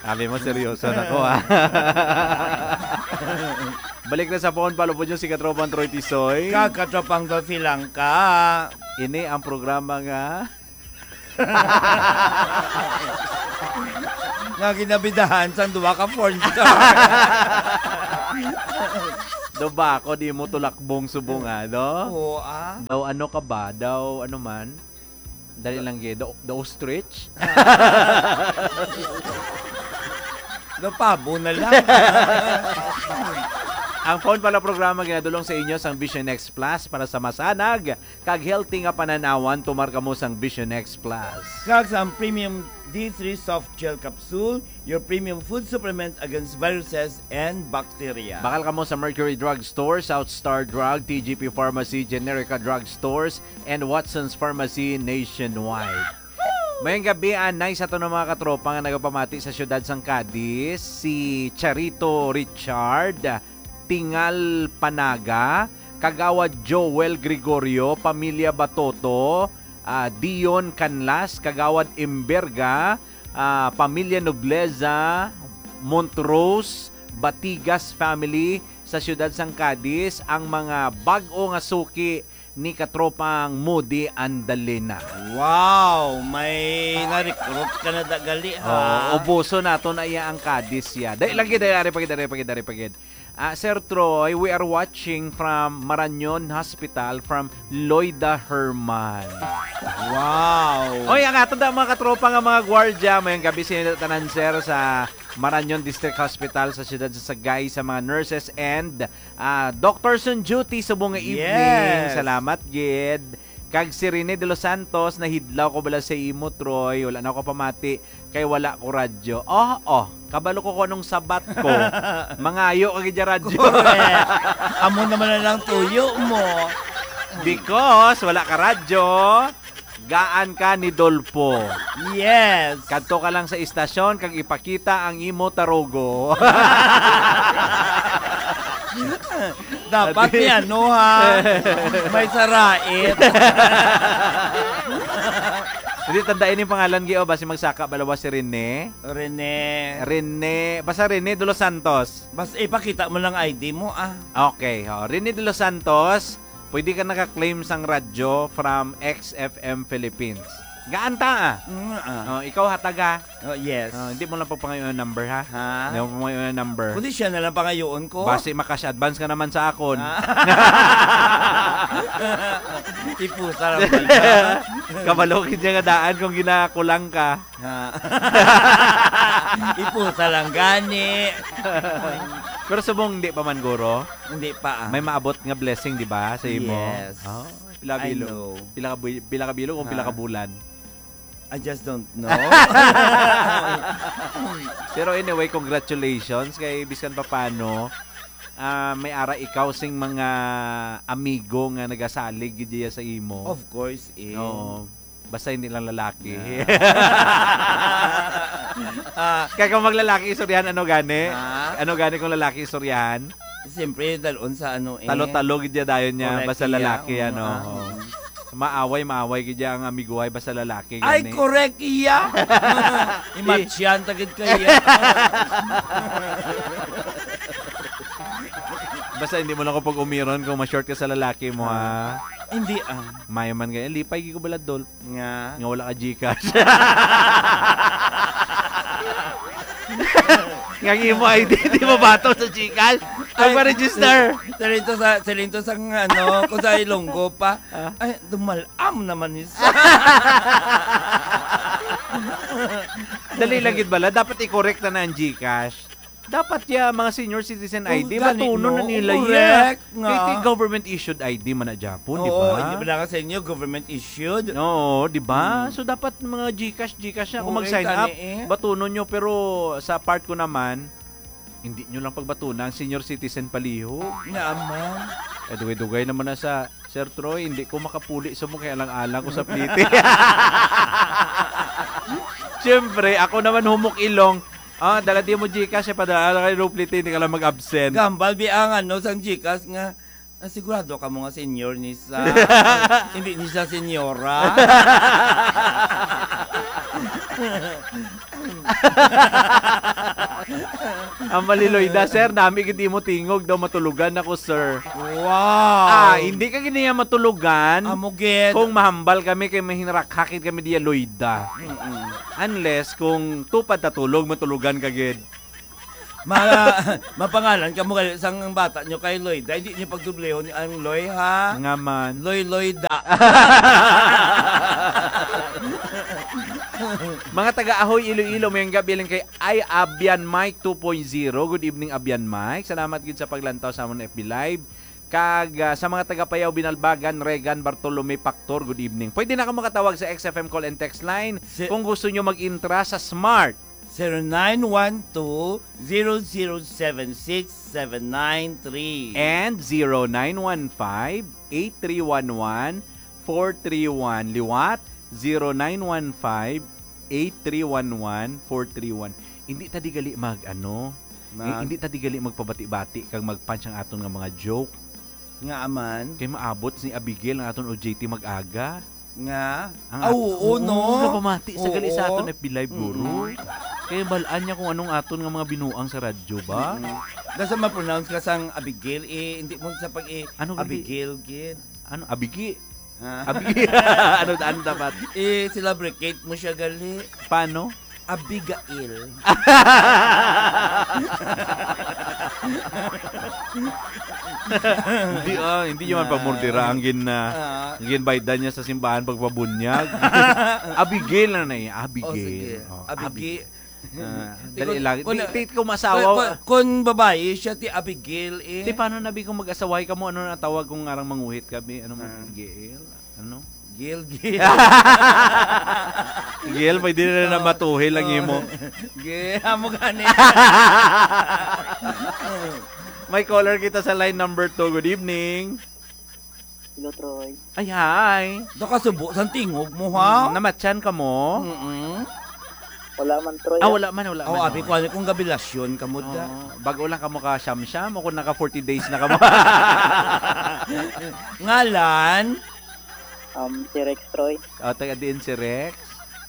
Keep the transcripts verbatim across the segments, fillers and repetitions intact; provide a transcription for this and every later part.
Sabi mo, seryoso na ko, ah. Balik na sa phone, follow po nyo si Katropang Troy Tisoy. Kag Katropang Dolphy Langka. Ini ang programa nga Nga ginabidahan sang duha ka porn star. Daw ba ako di mo tulakbong subong, ah, no? Oo, ah. Daw ano ka ba? Daw ano man? Dali lang, gid. The, the ostrich? The pabo na lang. Ang phone pala programa ginadulong sa inyo sang Vision X Plus para sa masanag kag healthy nga panan-awan, tumar kamo sang Vision X Plus. Kag sa ang premium D three soft gel capsule, your premium food supplement against viruses and bacteria. Bakal kamo sa Mercury Drug Store, South Star Drug, T G P Pharmacy, Generica Drug Stores, and Watson's Pharmacy nationwide. Mayong gabi, anay sa aton mga katropa nga nagapamati sa siyudad sang Cadiz, si Charito Richard, Tingal Panaga, Kagawad Joel Gregorio, Pamilya Batoto, ah, Dion Canlas, Kagawad Imberga, ah, Pamilya Nobleza, Montrose, Batigas family sa siyudad sang Cadiz, ang mga bag-o nga suki ni Katropang Moody Andalena. Wow! May na-recruit ka na da gali, ha? Oo, ubuso nato na iya ang Cadiz, ya. Dali lang gid, dali, ari pa gid, ari pa gid, ari pa gid. Ah, Sir Troy, we are watching from Marañon Hospital from Loida Herman. Wow! Oy, ang ato da mga katropa nga mga gwardya, mayong gabi sa inyo tanan, sir, sa Marañon District Hospital sa siyudad sa Sagay, sa mga nurses and, ah, doctors on duty subong nga evening. Yes. Salamat gid. Kag si Rene de los Santos, nahidlaw ko bala sa imo, Troy. Wala na ako pamati kay wala ko radyo. Oh, oh, kabalo ko kung anong sabat ko. Mangayo ka gid radyo. Correct. Amo naman na lang tuyo mo. Because wala ka radyo, gaan ka ni Dolpo. Yes. Kadto ka lang sa istasyon kag ipakita ang imo tarugo. Dapat Adi- ni ano, ha? May sarait. Hindi, tandaan yung pangalan, Gio. Basi magsaka balawa si Rene. Rene. Rene. Basta Rene de los Santos. Bas, ipakita mo lang I D mo, ah. Okay, oh. Rene de los Santos, pwede ka naka-claim sang radyo from X F M Philippines. Gaan ta, ah. Mm, ah. Oh, ikaw hataga. Oh, yes. Oh, hindi mo lang pagpangayon ang number, ha? Ha? Hindi mo pagpangayon ang number. Kundi siya na lang pangayoon ko. Basi makash advance ka naman sa akon. Ah. Ipusa lang pala. Kabalo gid niya nga daan kung ginakulang ka. Ha? Ipusa lang gani. Pero subong hindi pa man, guro. Hindi pa, ah. May maabot nga blessing, di ba, sa imo? Yes. Oh, pila I bilo? Know. Pila ka bu-, pila ka bilo kung pila ka Ha? Bulan? I just don't know. Pero anyway, congratulations kay bisan pa paano, ah, may ara ikaw sing mga amigo nga nagasalig gid diya sa imo. Of course, eh. Oo. Basta hindi lang lalaki. Ah. Ah. Kaya kung maglalaki istoryahan, ano gani? Ha? Ano gani kung lalaki istoryahan? Siyempre, dalon sa ano eh. Talo-talo gid niya dayon niya. Correct, basta iya. Lalaki, oo, ano, ah, oo. Maaway, maaway gid niya ang amiguhay, basta lalaki. Ay, gani. Correct, iya. Imatsyan, tagid ka, iya. Basta hindi mo lang ko pag-umiron kung ma-short ka sa lalaki mo, ha? Ah, hindi, ah. Mayo man gani. Lipay gid ko bala, Dol. Nga? Nga wala ka GCash. Nga ang imo I D, di mo bato sa GCash? Ay, pagpa-register. Silinto sa, silinto sa, ano, kung sa Ilonggo pa. Ah? Ay, dumalam naman ni sa. Dali lang gid bala. Dapat i-correct na na ang GCash. Dapat ya, mga senior citizen I D, oh, gani, batunon na no? Nila ya. Correct nga. Kay, kay government issued I D man na Japon, di ba? Oo, hindi ba lang sa inyo, government issued? Oo, di ba? Hmm. So, dapat mga GCash, GCash na. Kung oo, mag-sign up, gani eh. Batunon nyo, pero sa part ko naman, hindi nyo lang pagbatuna ang senior citizen paliho. Naman. Eh, dugay-dugay naman na sa Sir Troy, hindi ko makapuli sa mo kay alang-alang ko sa plite. Siyempre, ako naman humok ilong. Ah, dala di mo GCash, eh, padala kay Roplite, hindi ka lang mag-absent. Gambal, bi ang ano, sang GCash nga, ah, sigurado ka mo nga senior ni sa, hindi ni sa senyora. Ang maliloy da, sir, nami gid imo tingog daw, "Matulogan ako, sir." Wow! Ah, hindi ka gid niya matulogan. Amo gid. Kung mahambal kami kay mahinarakakit kami diya, Loida. Mm-mm. Unless kung tupad ta tulog, matulogan ka gid. Ma-, mapangalan kamo gali sang bata nyo kay Loida. Hindi nyo pagdublihon ang Loy, ha? Nga man. Loy, Loida. Mga taga Ahoy, Iloilo, mayong gabi lang kay, ay, Abian Mike two point zero. Good evening, Abian Mike. Salamat gid sa paglantaw sa amon F B Live. Kag, ah, sa mga taga Payao, Binalbagan, Regan, Bartolome, Pactor, good evening. Pwede na ka makatawag sa X F M call and text line Si- kung gusto nyo mag-intra sa Smart. Zero nine one two, zero zero seven six, seven nine three. And zero nine one five, eight three one one, four three one. Liwat, zero nine one five, eight three one one, four three one. Hindi ta di gali mag, ano, Mag- hindi ta di gali magpabati-bati kag mag-punch ang aton nga mga joke. Nga aman? Kay maabot si Abigail ang aton O J T mag-aga. Nga? Ang Ah, at-, oo, oo, no? Napamati sa gali sa Oo. aton F B Live, guro. Mm-mm. Kaya balaan niya kung anong aton nga mga binuang sa radyo ba? Mm-mm. Basta ma-pronounce ka sang Abigail, eh, hindi mo sa pag-, eh, Ano gali? Abigail, gid. Ano? Abigi? Ha? Abigi? Ano, ano dapat? Eh, sila bricate mo siya gali. Paano? Abigail. Hindi, ah, hindi niya man Ah. pamurdira ang gin-, ah, Ah. ang ginbaydan niya sa simbahan pagpabunyag. Abigail na na eh. Abigail. Oh, sige. Oh, Abigi. Abig-, Ah, Di dali ko, lang. kun, Di, di ko masawa. kun, kun, kun babayi siya, ti Abigail, eh. Di, paano na, bi, kung mag-asaway ka mo? Ano na tawag kung ngarang manguhit ka, bi? Ano mo, Ah. Gail? Ano? Gail, Gail. Gail, pwede na na Oh. matuhil ang Oh. imo. Gail, amo gani. May caller kita sa line number two. Good evening. Hello, Troy. Ay, hi. Da ka subo sang tingog mo, ha? Mm, namatyan ka mo? Mm-mm. Wala man, Troy, Ah, ah. wala man, wala Oh, man, abi oh. ko, ano kung gabilasyon ka mo, da? Oo, bago lang ka mo ka siyam-siyam o kung naka forty days na ka mo? Ngalan? Um, si Rex, Troy. Oh, taga diin si Rex?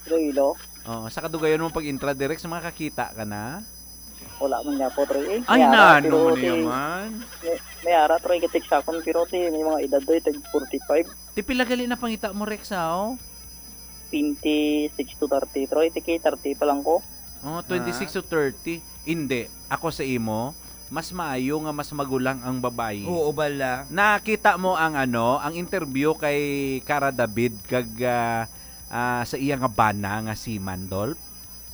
Iloilo. Oh, sa kadugayon mo pag-intra, Rex, makakita ka na? Wala man niya po, Troy, eh. Ay, May ara, nano pero mo ti-, niya man? may, may ara, Troy, katik sa akon, pero ti, may mga edad, Troy, tag forty-five. Ti pila gali na pangita mo, Rex, ha, oh? Twenty-six to thirty, Troy. Ti kay thirty pa lang ko. Oh, twenty-six Ah. to thirty. Hindi. Ako sa imo, mas maayo nga mas magulang ang babayi. Oo, bala. Nakita mo ang, ano, ang interview kay Cara David kag, ah, ah, sa iya nga bana nga si Mandolf?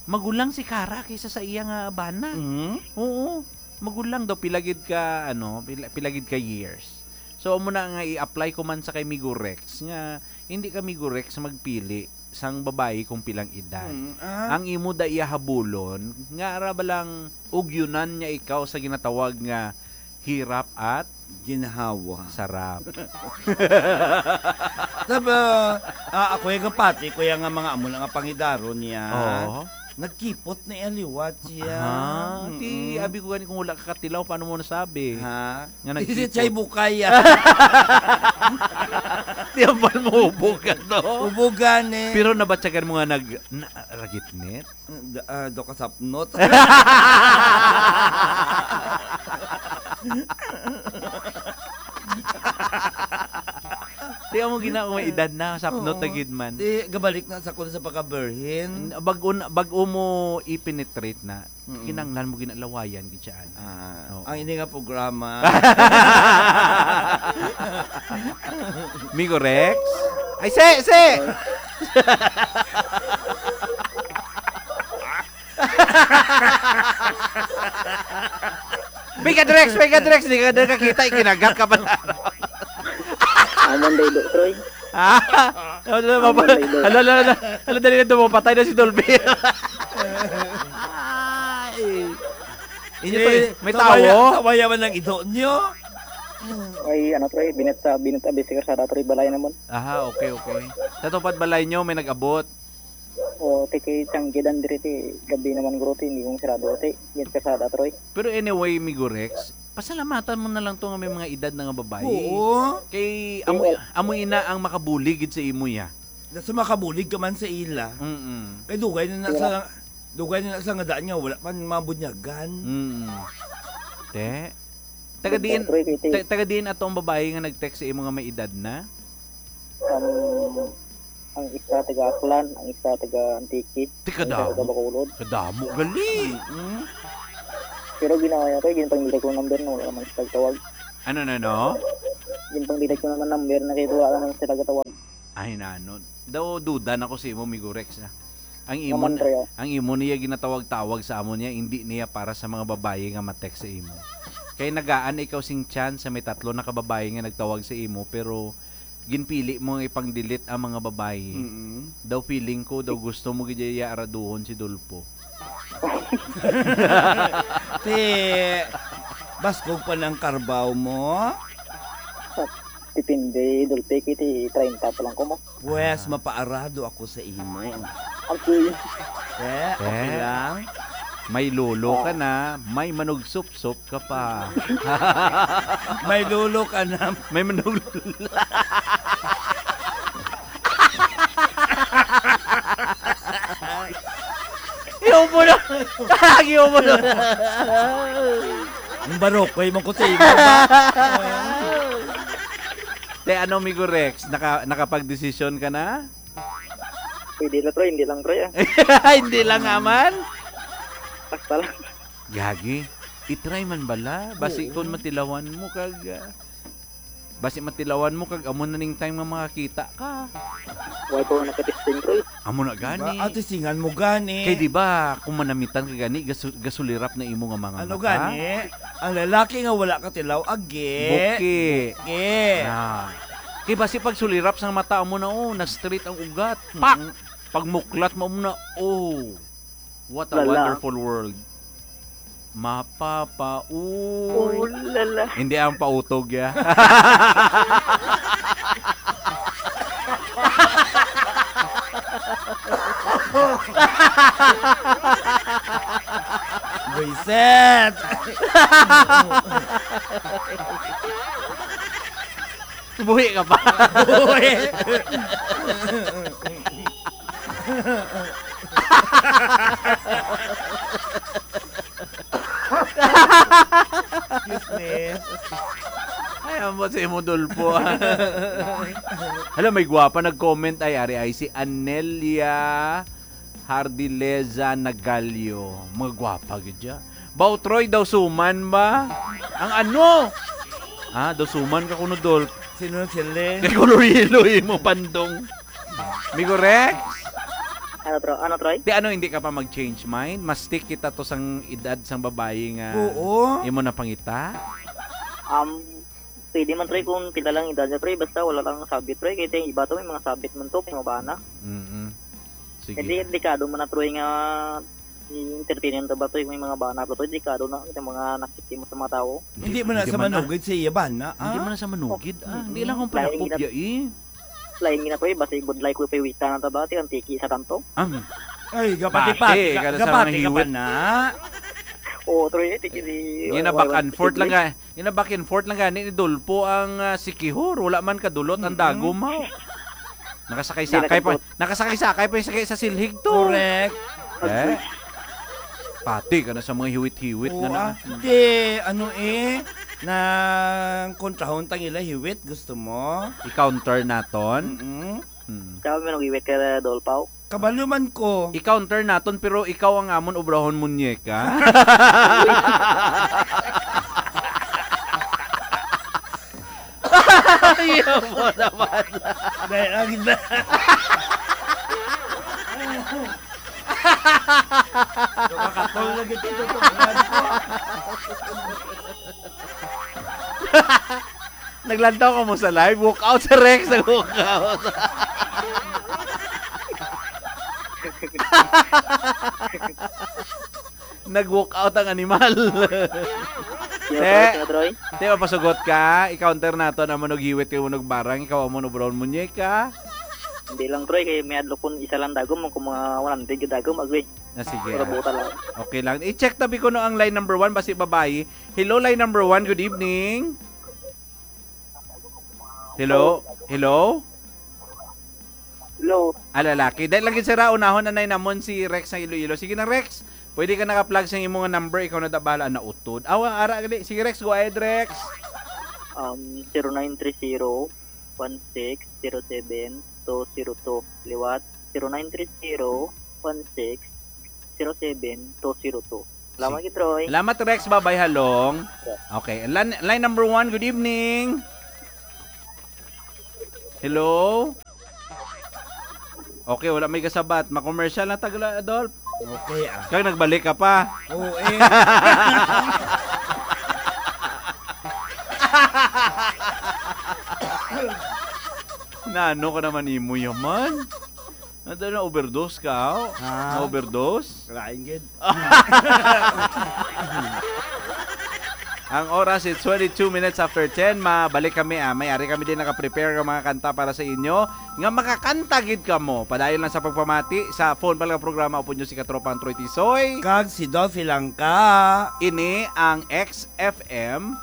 Magulang si Cara kaysa sa iya nga bana. Mhm. Oo. Magulang daw, pila gid ka, ano, pila, pila gid ka years. So, amo na nga i-apply ko man sa kay Migo Rex nga hindi ka, Migo Rex, magpili sang babayi kung pilang edad. Mm, ah. Ang imo da iya habulon, nga ara ba lang ugyunan niya ikaw sa ginatawag nga hirap at Ginhawa. Sarap. Sab-, ah, ah, ako yung kapati, kuya nga mga amo na nga pangidaron niya. Oo. Nagkipot na iya liwat siya. Ah, ti, Mm-mm. abi ko gani kung wala ka katilaw, paano mo nasabi? Ha? Nga Is it nagkipot? Chay Bukay, ah? Ti, ambal mo, hubog ka to. Hubugan, eh. Pero nabatyagan mo nga nag-, na-, ragitnit? Da-, ah, do ka sapnot. Di mo gina-, may edad na, sapnot Oo. na gid man. Di, gabalik na sa kun sa pagka-virgin. Bag-o na, bag-o mo i-penetrate na, Mm. kinanglan mo ginalawayan gid siya, ana. Ah, Oo. ang ini nga programa. Migo Rex? Ay, si, si! May ka, Drex, may ka, Drex, di ka na kakita, ikinagat ka pala. Amon day do, Troy. Ah, hala, Amon mapa-, day do. hala, hala, hala, hala, dali na dumapatay na si Dolby. Ay. Inyo to, Eh, eh. May sabaya, tawo? Sabaya man ang ido nyo. Ay, ano, Troy, binit sa, binit sa, bisi karsada, Troy, balay naman. Aha, okay, okay. Sa tupad balay nyo, may nag-abot. O, ti kay sang gidan diri ti gabi naman, guro, ti, hindi kong sarado, ti. Yan kasada, Troy. Pero anyway, Migo Rex, pasalamatan mo na lang to nga may mga edad na nga babae. Oo. Kay amo, Oo. amo ina ang makabuli gid sa imo, ya. Nasa makabulig ka man sa ila. Mm-mm. Kay dugay na na Wala. sa, dugay na na sa nga daan nga wala pa mabunyagan. Mm. Te? Taga diin, Pre, kay ti- ta-, taga diin ato ang babae nga nag-text sa imo nga may edad na? Um, ang isa taga Aklan, ang isa taga Antique, Ti ang isa kadamo. taga Bacolod. Kadamo gali. Mm. Pero ginawa niya to, ginpangita ko number, no, wala naman siya tawag. Ano na, no? Ginpangita ko naman number na kay wala naman siya tawag. Ay, nano. Daw duda na ko sa imo, Migo Rex, ah. Ang imo, Naman, Pre, ah. ang imo niya ginatawag-tawag sa amo niya, hindi niya para sa mga babayi nga ma-text sa imo. Kay nagaan ikaw sing chance sa may tatlo na ka babayi nga nagtawag sa imo, pero ginpili mo nga ipang-delete ang mga babayi. Mm-mm. Daw feeling ko, daw gusto mo gid iya araduhon si Dolpo. Ti, baskog pa nang karbaw mo? Depende, Dolpe, kay ti treinta pa lang ko mo. Pwes, Ah. mapaarado ako sa imo. Agoy. Eh, okay Eh. lang? May lolo ka Ah. na, may manugsupsop ka pa. May lolo ka na. May manug- Yung mo na. Yung mo na. Ang barokoy man ko sa imo ba? Te, ano, Migo Rex? Naka-, nakapag-desisyon ka na? Pwede na, Troy. Hindi lang, Troy, ah. Hindi lang, aman? Basta lang. Gagi. I-try man bala. Basi Oo. kung matilawan mo kag, ah, basi matilawan mo kag amo na ning time nga makakita ka. Wala pa ako nakatesting, Troy. Amo na gani. Diba? Ah, testingan mo gani. Kay di ba, kung manamitan ka gani, gasu-, gasulirap na imo nga mga Ano mata. gani? Ang lalaki nga wala katilaw, agi. Buki. Buki. Na. Kay basi pag sulirap sang mata mo na, oh, na-straight ang ugat. Pak! Mm-mm. Pag muklat mo na, oh. What a Lala. wonderful world. Mapapa-, Oh, lala. Hindi ang pautog, ya. Buiset! Buhi ka pa. Buhi. Excuse me. Ay, amo si imo, Dolpo, ah. Hala, may gwapa nag-comment ay, ari ay si Anelia Hardileza Nagalio. Mga gwapa gid siya. Baw, Troy, daw suman ba? Ang ano? Ah, daw suman ka kuno, Dol. Sino na sila? Kay kuno yelo imo, pandong. Migo Rex? Ano, Tro-, ano, Troy? Ti ano, hindi ka pa mag-change mind? Mas stick kita to sang edad sang babayi nga Oo. imo napangita? Um, pwede man, Troy, kung pila lang edad niya, Troy. Basta wala lang sabit, Troy. Kaya yung iba to, may mga sabit man to, may mga bana. Mm-mm. Sige. Hindi, delikado man na, Troy, nga i-entertain ta ba, Troy, may mga bana, Troy. Delikado na, yung mga nakikita mo sa mga tao. Hindi man na Hindi sa man na. manugid sa iya bana, Hindi ah? man na sa manugid, ah. Hindi Mm-mm. lang akong Lain palakop, gina-, ya, eh. Lain gina, Troy, basta ibudlay ko pa yung wika na ta ba, ti ang tiki sa tanto. Ang Ay, gapati Pati, pa, ga-, kada sa gapati mga ka pa hiwit. na. Oo, Troy, eh, tiki di, Yun na, wala, back wala, and forth lang tiki. ka. Yun na, back and forth lang gani ni Dolpo ang, ah, sikihor. Wala man kadulot ang Mm-mm. dagom, haw. Nakasakay-sakay Hindi pa, na kadulot. nakasakay-sakay pa yung sakay sa silhig to. Correct. Eh? Pati ka na sa mga hiwit-hiwit Oo, na na. ah. Di, ano eh, nang kontrahon tang ila hiwit, gusto mo? I-counter naton? Mm-mm. Hmm. Sabi mo, nag-iwit ka na, Dolpaw? Kabalo man ko. I-counter naton, pero ikaw ang amon obrahon, munyeka. Ayaw mo naman. Dahil ang ganda. Nakakatol na gito, tutukan ko. Naglantaw ka mo sa live? Walk out sa Rex, nag-walk out. Nag-walk out ang animal. Sino, Te, Troy? Sino, Troy? Te, mapasugot ka. I-counter nato na manughiwit kay Manugbarang. Ikaw ang Manubron Munyeka. Hindi lang, Troy. Kay may adlok kun isa lang dagom. Kung mga one hundred ka dagom, agwi. Ah, sige. Pero buta lang. Okay lang. I-check tabi ko no ang line number one. Basi babayi. Hello, line number one. Good evening. Hello? Hello? Hello. Ah, lalaki. Dahil lagi sira, unahon na nay namon si Rex sa Iloilo. Sige na, Rex. Pwede ka naka-plug sa imo nga number, ikaw na da bahala na utod. Awa, ara gali. Sige, Rex, go ahead, Rex. Um, zero nine three zero, one six zero seven, two zero two. Liwat, zero nine three zero, one six zero seven, two zero two. Salamat, Sige. Troy. Salamat, Rex. Babay, halong. Okay, line, line number one, good evening. Hello? Okay, wala may kasabat. Ma-commercial na tagla, Adolf. Okay, ah. Kag nagbalik ka pa. Oo, eh. Na ano ka naman imo yaman? Ano na, overdose ka, oh? Ha? Na-overdose? Lain gid. Ang oras is twenty-two minutes after ten. Mabalik kami, ah. May ari kami din naka-prepare nga mga kanta para sa inyo. Nga makakanta gid kamo. Padayon lang sa pagpamati sa phone pala nga programa upod nyo si Katropang Troy Tisoy. Kag si Dolphy lang ka. Ini ang X F M,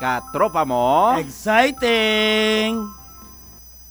Katropa Mo. Exciting!